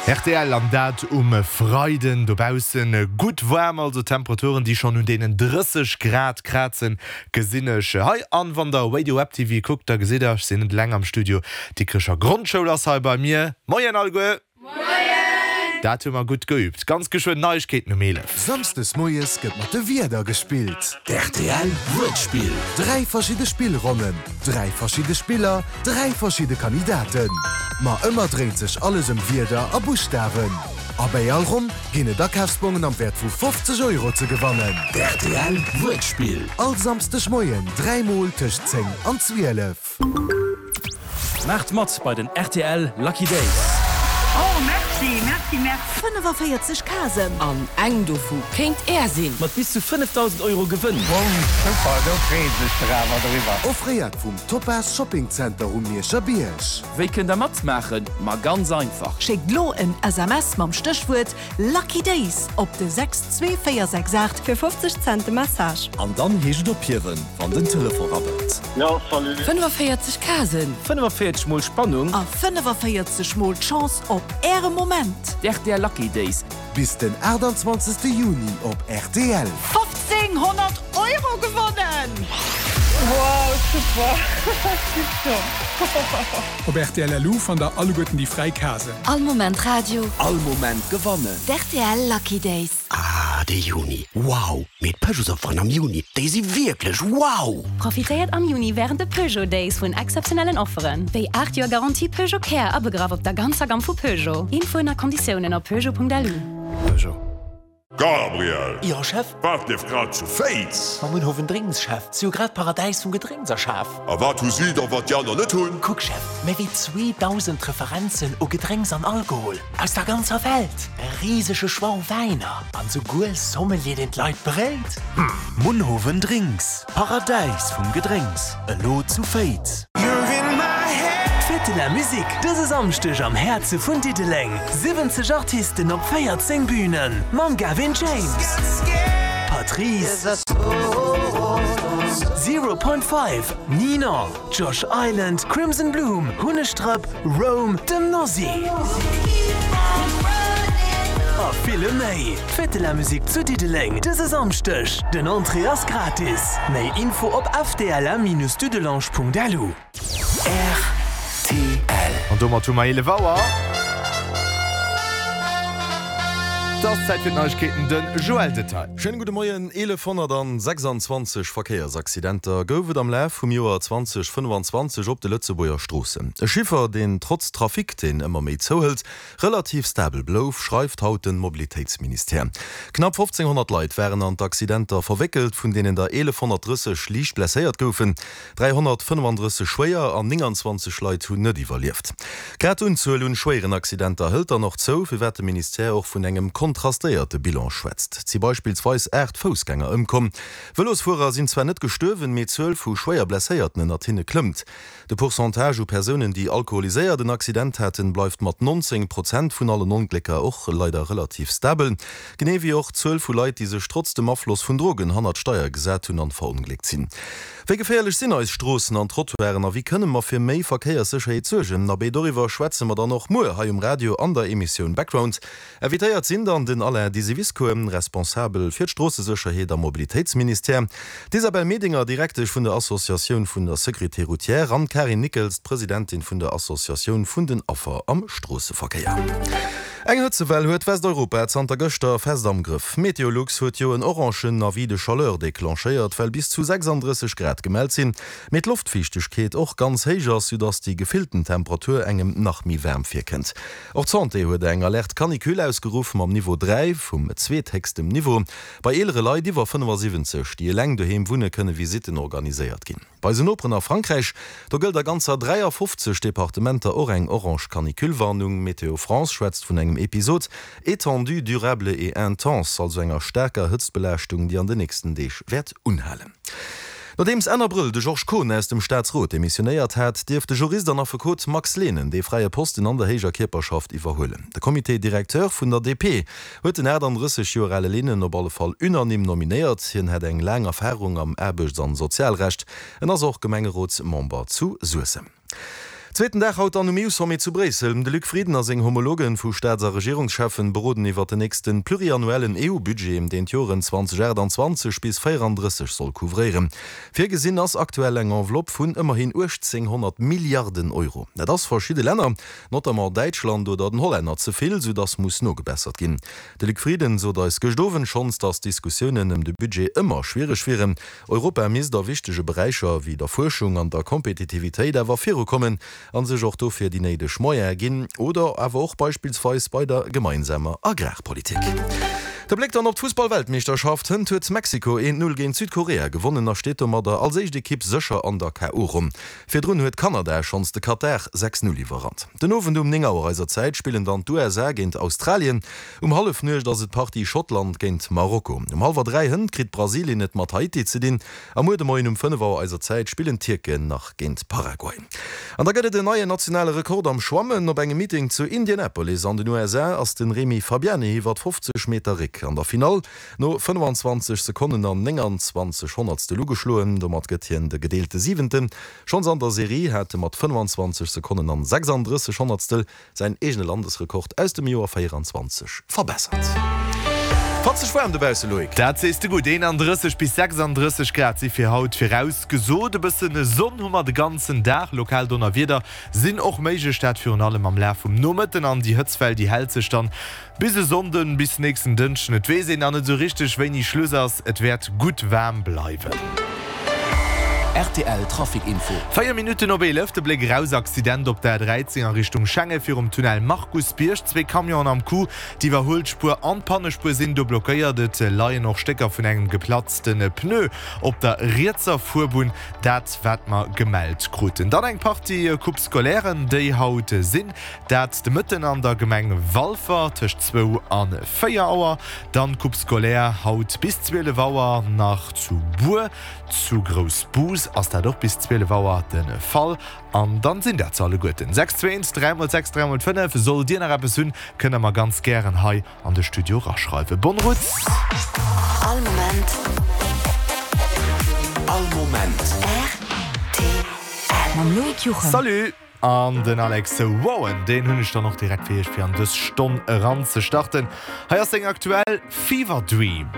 Rtl, an dat um Freiden. Dobaussen gutt waarm, also Temperaturen déi schonn un deenen 30 Grad krazen, gesinn ech hei. An wann der Radio Web TV kuckt, da gesitt der, ech sinn net eleng am Studio, d'Dikrecher Grondschoul ass hei bei mir. Moien alleguer! Moien! Dat hu mer gutt geübt. Ganz geschwënn Neiegkeeten um 11. Samsdes moies gëtt mat de Wierder gespillt. D'RTL Wuertspill. 3 verschidde Spillronnen, 3 verschidde Spiller, 3 verschidde Kandidaten. Ma ëmmer dréint sech alles ëm Wierder a Buschtawen. A bäi all Ronn ginn et Akafsbongen am Wäert vu 50 Euro ze gewannen. D'RTL Wuertspill. All Samsdeg Moien 3 mol tëscht 10 an 12. Maacht mat bei den rtl Lucky Days! Oh merci, merci, merci. 45 Casen. An eng dovu kéint Är sinn! Mat bis zu 5.000 Euro Gewënn! Wow, super, do freeën sech der awer driwwer. Offréiert vum Topaz Shopping Center um Mierscher Bierg. Wéi kënnt der matmaachen? Ma ganz einfach! Schéckt lo en SMS mam Stéchwuert Lucky Days op de 62468. Fir 50 Cent de Message. An dann heescht et ophiewen, wann den Telefon rabbelt. Jo, salut. 45 Casen. 45 mol Spannung. A 45 mol d'Chance op Äre Moment. D'RTL Lucky Days. Bis den 28 Juni op rtl. 1500 Euro gewonnen! Wow, super, tipptopp. Op rtl.lu fannt der alleguerten déi fräi Casen. All Moment Radio. All Moment gewannen. D'RTL Lucky Days. Ah, de Juni, wow! Mee d'Peugeotsofferen am Juni, déi si wierklech wow! Profitéiert am Juni wärend de Peugeot Days vun exzeptionellen Offeren, wéi 8 Joer Garantie Peugeot Care abegraff op der ganzer Gamm vu Peugeot. Infoen a Konditiounen op peugeot.lu. Peugeot. Gabriel! Jo, Chef? Wat lieft grad zu Féiz? Mam Munhowen Drinks, Chef. Si hu grad d'Paradäis vum Gedrénks erschaf. A wat hu si da, wat déi aner net hunn? Kuck, Chef, méi wéi 2.000 Referenzen u Gedrénks an Alkohol aus der ganzer Welt, e risege Choix u Wäiner an souguer e Sommelier, deen d'Leit beréit. Munhowen Drinks, Paradäis vum Gedrénks, elo zu Féiz. D'Fête de la Musique dëse Samschdeg am Häerze vun Diddeleng. 70 Artisten op 14 Bünen mam Gavin James, Patrice, Zero Point Five, Nina, Josh Island, Crimson Bloom, Hunnegdrëpp, Rome, dem Nosy a ville méi. D'Fête de la Musique zu Diddeleng dëse Samschdeg. Den Entrée ass gratis. Méi Info op fdlm-dudelange.lu. Rtl. An domat hu mer 11 Auer. Et ass Zäit fir d'Neiegkeeten, de Joël Detail. Schéine gudde Moien. 1126 Verkéiersaccidenter gouf et am Laf vum Joer 2025 op de Lëtzebuerger Stroossen. E Chiffer, deen trotz Trafic, deen ëmmer méi zouhëlt, relativ stabel blouf, schreift haut de Mobilitéitsministère. Knapp 1.500 Leit waren an d'Accidenter verwéckelt, vun deenen der 1.130 liicht blesséiert goufen. 335 schwéier an 29 Leit hunn net iwwerlieft. Grad d'Unzuel un schwéieren Accidenter hëlt dann och zou, firwat de Ministère och vun engem kontrastéierte Bilan schwätzt. Et si beispillsweis 8 Foussgänger ëmkomm. Vëlosfuerer sinn zwar net gestuerwen, mee d'Zuel vu schwéier Blesséierten ënnert hinne klëmmt. De Pourcentage u Persounen, déi alkoholiséiert en Accident haten, bleift mat 19 Prozent vun allen Onglécker och leider relativ stabel. Genee wéi och d'Zuel vu Leit, déi sech trotz dem Afloss vun Drogen hannert d'Steier gesat hunn an verongléckt sinn. Wéi geféierlech sinn eis Stroossen an Trottoiren a wéi kënne mer fir méi Verkéierssécherheet suergen? Abee, doriwwer schwätze mer dann och muer hei um Radio an der Emissioun Background. Invitéiert sinn dann den Alain Disiviscour, Responsabel fir d'Stroossesécherheet am Mobilitéitsministère, d'Isabelle Medinger, Direktesch vun der Associatioun vun der Sécurité routière an d'Karin Nickels, d'Presidentin vun der Associatioun vun den Affer am Stroosseverkéier. Eng Hëtzewell huet Westeuropa zanter gëschter fest am Grëff. Meteolux huet jo en orangen Avis de chaleur declenchéiert, well bis zu 36 Grad gemellt sinn, mee d'Loftfiichtegkeet och ganz héich ass, soudass déi gefillten Temperatur engem nach méi waarm virkënnt. Och d'Santé huet eng Alerte canicule ausgeruff mam Niveau 3, vum zweethéchstem Niveau. Bei eelere Leit iwwer 75, déi eleng doheem wunne, kënne Visitten organiséiert ginn. Bei eisen Noperen a Frankräich, do gëllt a ganzer 53 Departementer och eng orange Canicule-Warnung. Météo France schwätzt vun engem Episode étendu, durable et intense, also enger staarker Hëtztbelaaschtung, déi an de nächsten Deeg wäert unhalen. Nodeems Enn Abrëll de Georges Kohn aus dem Staatsrot demissionéiert hat, dierf de Jurist an Affekot Max Lehnen dee fräie Posten an der héijer Kierperschaft iwwerhuelen. De Comité directeur vun der DP huet den 38 Joer ale Lehnen op alle Fall unanime nominéiert. Hien hätt eng laang Erfarung am Aarbechts an Sozialrecht. En ass och Gemengerotsmember zu Suessem. Zweeten Dag haut dann um EU-Sommet zu Bréissel. De Luc Frieden a seng Homologen vu Staats a Regierungscheffen beroden iwwert den nächsten pluriannuellen EU-Budget, deen d'Joren 2028 bis 34 soll couvréieren. Virgesinn ass aktuell eng Enveloppe vun ëmmerhin 1.800 Milliarden Euro. Dat ass verschidde Länner, notamment Däitschland oder den Hollänner, ze vill, soudass muss nogebessert ginn. De Luc Frieden sot eis gëscht Owend schonns, datt d'Diskussiounen ëm de Budget ëmmer schwiereg wieren. Europa misst a wichtege Beräicher wéi der Fuerschung an der Kompetitivitéit awer virukommen a sech och dofir déi néideg Moyene ginn, oder awer och beispillsweis bei der gemeinsamer Agrarpolitik. De Bléck dann op d'Fussball-Weltmeeschterschaft, Hënt huet Mexiko 1, 0 géint Südkorea gewonnen a steet domadder als éischt Ekipp sécher an der KO-Ronn. Virdrun huet Kanada schonns de Katar 6, 0 iwwerrannt. Den Owend um 9 Auer eiser Zäit spillen dann d'USA géint Australien. Um Hallefnuecht ass et d'Partie Schottland géint Marokko. Um hallwer 3 hënt kritt Brasilien et mat Haiti ze dinn a muer de Moien um 5 Auer eiser Zäit spillen d'Tierken nach géint Paraguay. An da gëtt et en neien nationale Rekord am Schwammen. Op engem Meeting zu Indianapolis an den USA ass de Remy Fabiani iwwert 50 Meter Réck an der Finall no 25 Sekonnen an 29 Honnertstel ugeschloen. Domat gëtt hien de gedeelte Siwenten. Schonns an der Serie hat e mat 25 Sekonnen an 36 Honnertstel säin eegene Landesrekord aus dem Joer 24 verbessert. Fatzeg waarm dobausse, Loïc. Dat sees de gutt, 31 bis 36 Grad si fir haut virausgesot. E bësse Sonn hu mer de ganzen Dag, lokal Donnerwieder sinn och méiglech, dat virun allem am Laf vum Nomëtten. An déi Hëtztwell, déi hält sech dann Bis e Sonnden, bis nächsten Dënschden, et weess een nach net esou richteg wéini Schluss ass, et wäert gutt waarm bleiwen. Rtl Trafic Info. 4 Minutten op 11, de Bléck eraus, Accident op der A13 a Richtung Schengen virum Tunnel Markusbierg. Zwee Camionen am Coup, d'Iwwerhuelspuer an d'Pannespuer sinn do blockéiert. Et leien och Stécker vun engem geplatzte Pneu op der rietser Fuerbunn, dat wat mer gemellt kruten. Dann eng Partie Coupe Scolairen, déi haut sinn. Dat de Mëtten an der Gemeng Walfer tëscht zwou a 4 Auer. Dann d'Coupe scolaire haut bis 12 Auer nach zu Bur. Zu Groussbus ass dat och bis 12 Auer de Fall. An dann sinn dat se alleguerten. 6 2 1 3 mol 6 3 mol 5. Sollt Dir nach eppes hunn, kënnt der mer ganz gären hei an de Studio raschreiwen. Bonne route! All Moment. All Moment. Rtl. Mam Loïc Juchem. Salut! An den Alex Warren, deen hunn ech dann och direkt fir iech fir an dës Stonn eran ze starten. Hei ass seng aktuell Fever Dream.